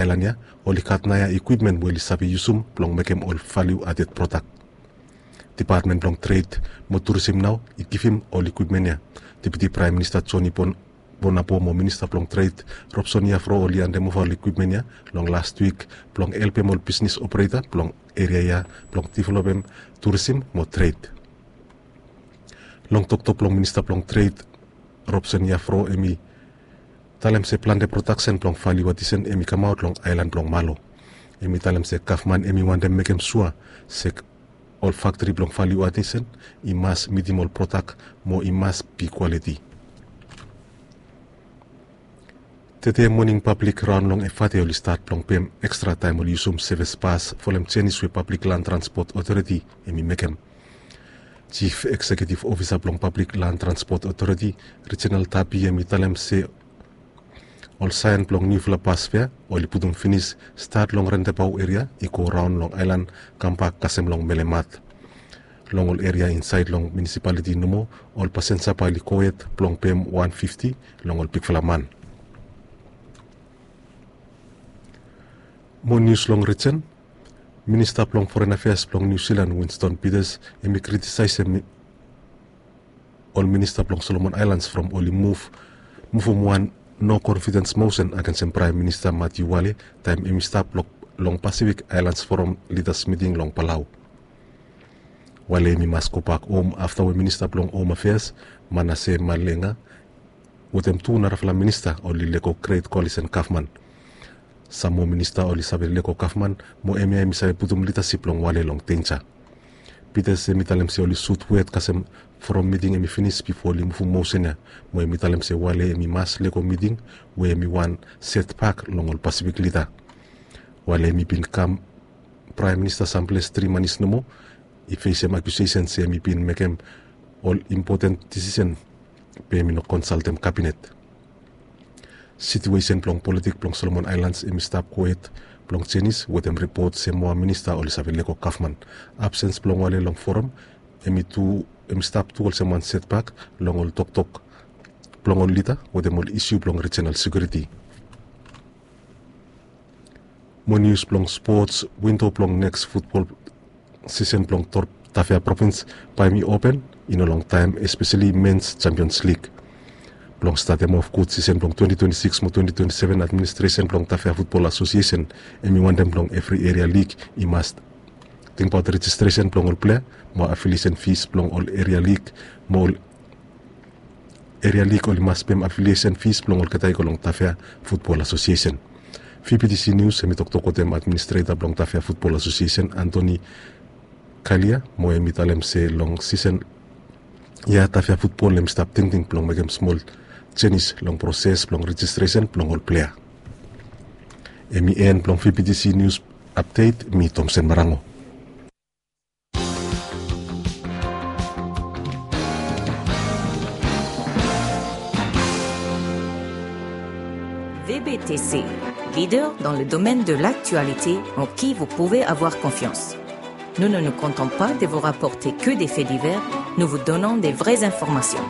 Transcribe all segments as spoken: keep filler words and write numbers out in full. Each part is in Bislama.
aelan ya oli gat naoia ikwipmen we oli save yusum blong mekem ol valiu aded prodak. Depatmen blong Tred mo Turisim nao i givim ol ikwipmen ya. Deputi Praem Minista Joni Bon Bonapo mo Minista blong Tred Robson Yafro oli handemova ol ikwipmen ya long last wik blong helpem ol bisnis opereta blong eria ya blong developem turisim mo tred. Long toktok blong Minista blong Tred Robson Yafro, hemi talem se plante prodaksen blong valiu adisen hemi kamaot long aelan blong Malo. Hemi talem se gavman hemi wantem mekem sua se ol faktri blong valiu adisen i mas mitim ol prodak mo i mas bi kwaliti. Tede moning pablik raon long Efate oli stat blong pem ekstra taem oli yusum sevis bas folem jenis we Pablik Lan Transpot Otoriti hemi mekem. Jif Eksekiutiv Ofisa blong Pablik Lan Transpot Otoriti, Reginald Tapi, hemi talem se ol saen blong niufala bas fea oli putum finis stat long Rendebau eria i go raon long aelan kambak kasem long Melemat. Long ol eria insaed long munisipaliti nomo, ol pasenja bae oli gohed blong pem wan fifti long ol bigfala man. Mo nius long rijen. Minista blong Foren Afeas blong Niu Silan, Winston Peters, hemi kritisaesem ol minista blong Solomon Aelans from oli muv muvum wan no konfidens mosen agensem Praem Minista Matiu Wale taem hemi stap long Pasifik Aelans Foram Lidas Miting long Palau. Wale hemi mas gobak hom afta we Minista blong Hom Afeas Manase Malenga wetem tu narafala minista oli lego Gret Koalisen gavman. Sam moa minista oli save lego gavman mo hemia hemi save putum lidasip blong Wale long denja. Peters hemi talem se oli sut wet kasem from miting hemi finis bifo oli muvum mosen ya, mo hemi talem se Wale hemi mas lego miting we hemi wan setbak long ol Pasifik lida. Wale hemi bin kam Praem Minista samples tri manis nomo, i fesem akiusesen se hemi bin mekem ol impoten disisen be hemi no konsaltem kabinet. Situesen blong politik blong Solomon Aelans hemi stap gohed blong jenis wetem ripot se moa minista oli save lego gavman. Absens blong Wale long foram hemi tu hemi stap tu olsem wan setbak long ol toktok blong ol lida wetem ol isiu blong rijenal sekiuriti. Mo nius blong spots, windo blong neks futbol sisen blong Tafea provins bae hemi open i no longtaem, espeseli Mens Champions League. Blong statem of gud sisen blong twenti twenti sikis mo twenti twenti seven, administresen blong Tafea Futbol Asosiesen hemi wantem blong evri eria lig i mas tingbaot rejistresen blong ol plea mo afiliesen fis blong ol eria lig mo ol eria lig oli mas pem afiliesen fis blong olgeta i go long Tafea Futbol Asosiesen. VBTC Nius hemi toktok wetem administreta blong Tafea Futbol Asosiesen, Antoni Kalia, mo hemi talem se long sisen ya Tafea Futbol hemi stap tingting blong mekem smol jenis long proses blong rejistresen blong ol plea. Hemi en blong VBTC Nius apdet. Mi Tomsen Marango. VBTC, leader dans le domaine de l'actualité en qui vous pouvez avoir confiance. Nous ne nous contentons pas de vous rapporter que des faits divers, nous vous donnons des vraies informations.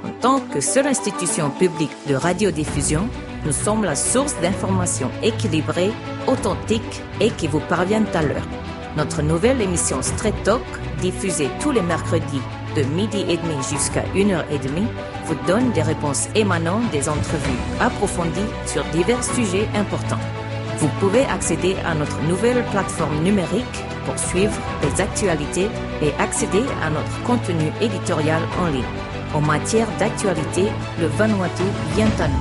En tant que seule institution publique de radiodiffusion, nous sommes la source d'informations équilibrées, authentiques et qui vous parviennent à l'heure. Notre nouvelle émission Straight Talk, diffusée tous les mercredis de midi et demi jusqu'à une heure et demie, vous donne des réponses émanant des entrevues approfondies sur divers sujets importants. Vous pouvez accéder à notre nouvelle plateforme numérique pour suivre les actualités et accéder à notre contenu éditorial en ligne. En matière d'actualité, le Vanuatu vient à nous.